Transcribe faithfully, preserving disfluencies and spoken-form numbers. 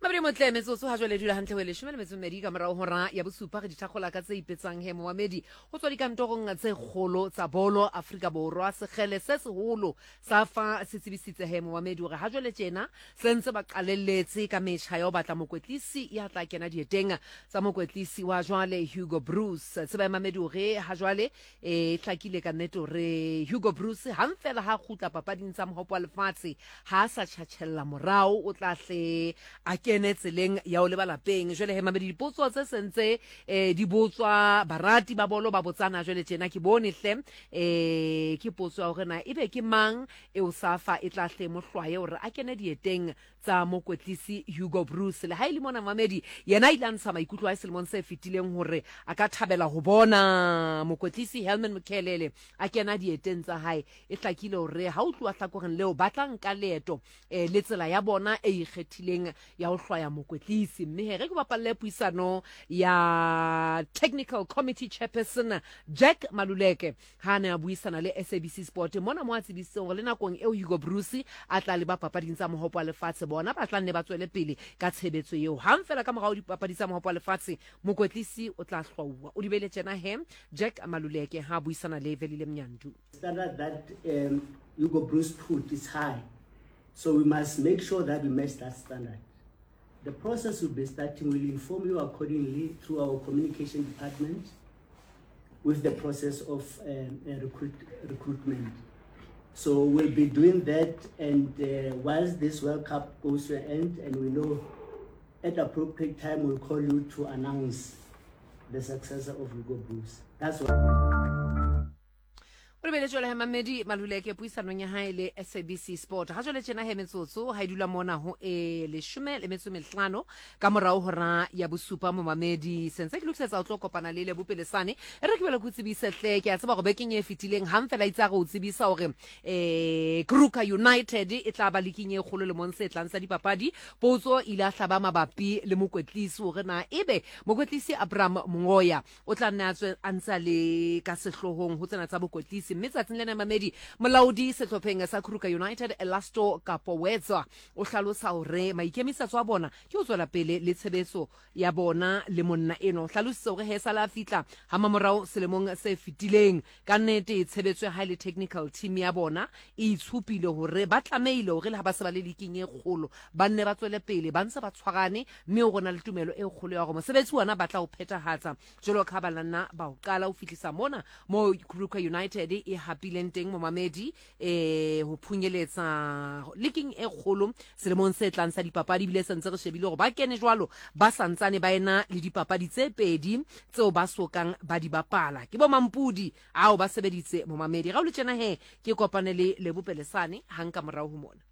Mabedi motle metsotso ha jwale dula hantle ho e leshome le metso e mmedi ka morao hora ya bosupa. Re dithakgola ka tse ipetsang he momamedi ho tswa dikantorong tse kgolo tsa bolo Afrika Borwa. Sekgele se seholo sa fa se tsebisitse he momamedi hore ha jwale tjena se ntse ba qalelletse ka metjha ya ho batla mokwetlisi ya tla kena dieteng tsa mokwetlisi wa jwale Hugo Broos. Tseba ya mamedi hore ha jwale e hlakile ka nnete hore Hugo Broos hang fela ha kgutla papading tsa mohopo wa lefatshe ha a sa tjhatjhella morao, o tla hle a kene tseleng ya ho leba lapeng. Jwale he mamedi, dipotso tse sentse eh, di botswa barati ba bolo ba botsana jwale tjena ke bone hle eh, ke potso ya hore na ebe ke mang eo SAFA e tla hle mohlwaye hore a kene dieteng tsa mokwetlisi Hugo Broos. Le ha e le mona mamedi yena a ile a ntsha maikutlo a selemong se fetileng hore a ka thabela ho bona mokwetlisi Helman Mkhelele a kena dieteng tsa hae. E hlakile hore ha o tluwa hlakoreng leo ba tla nka leeto eh, le tsela ya bona e ikgethileng ya ho hlwaya mokwetlisi. Mme he re ke bapalle puisano ya technical committee chairperson Jack Maluleke ha ne a buisana le S A B C Sport mona mo a tsebisitseng hore le nakong eo Hugo Broos a tla leba papading tsa mohopo wa lefatshe bona ba tla nne ba tswele pele ka tshebetso eo. Hang fela ka morao dipapadi tsa mohopo wa lefatshe mokwetlisi o tla hlwauwa. O di beile tjena he Jack Maluleke ha buisana le Velile Mnyandu. Standard that um, Hugo Broos put is high, so we must make sure that we match that standard. The process will be starting. We'll inform you accordingly through our communication department with the process of um, recruit, recruitment. So we'll be doing that, and uh, whilst this World Cup goes to an end, and we know at appropriate time we'll call you to announce the successor of Hugo Broos. That's what. O lebeletse jwale he mamedi Maluleke puisanong ya hae le S A B C Sport. Ha jwale tjena he metsotso ha e dula mona ho e leshome le metso e mehlano ka morao hora ya bosupa momamedi. Sentse ke lokisetsa ho tlo kopana le Lebo Pelesane. E re ke bele ke o tsebise hle, ke a tseba hore bekeng e fetileng hang fela itse a re o tsebisa hore eh Kruger United e tla ba liking e kgolo lemong se tlang sa dipapadi. Potso ile a hlaba mabapi le mokwetlisi hore na ebe mokwetlisi Abraham Mongoya o tla nne a tswe a ntse a le ka sehlohong ho tsena tsa bokwetlisi. Mme tsatsing lena mamedi molaodi sehlopheng sa Kruger United Elasto Kapowetsa o hlalosa hore maikemisetso a bona ke ho tswela pele le tshebetso ya bona le monna eno. O hlalositse hore he sala fihla ha mamorao selemong se fetileng ka nnete tshebetso ya hae le technical team ya bona e itshupile hore ba tlamehile hore le ha ba se ba le liking e kgolo ba nne ba tswele pele ba ntse ba tshwarane, mme ho rona le tumelo e kgolo ya hore mosebetsi ona ba tla o phethahatsa jwalo ka ha ba nna ba o qala ho fihlisa mona mo Kruger United e hapileng teng momamedi eh ho phunyeletsa liking e kgolo selemong se tlang sa dipapadi. Ebile se ntse re shebile hore ba kene jwalo ba santsane ba ena le dipapadi tse pedi tseo ba sokang ba di bapala. Ke bo Mampudi ao ba sebeditse momamedi. Ga o le tjena he ke kopane le Lebo Pelesane hang ka morao ho mona.